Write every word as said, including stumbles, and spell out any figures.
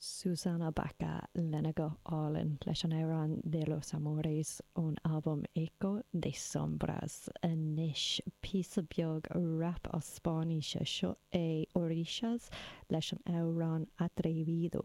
Susana Baca lena guth álainn leis an amhrán De los Amores ón albam Eco de Sombras anois píosa beag rap as Spáinnis seo é Orishas leis an amhrán Atrevido.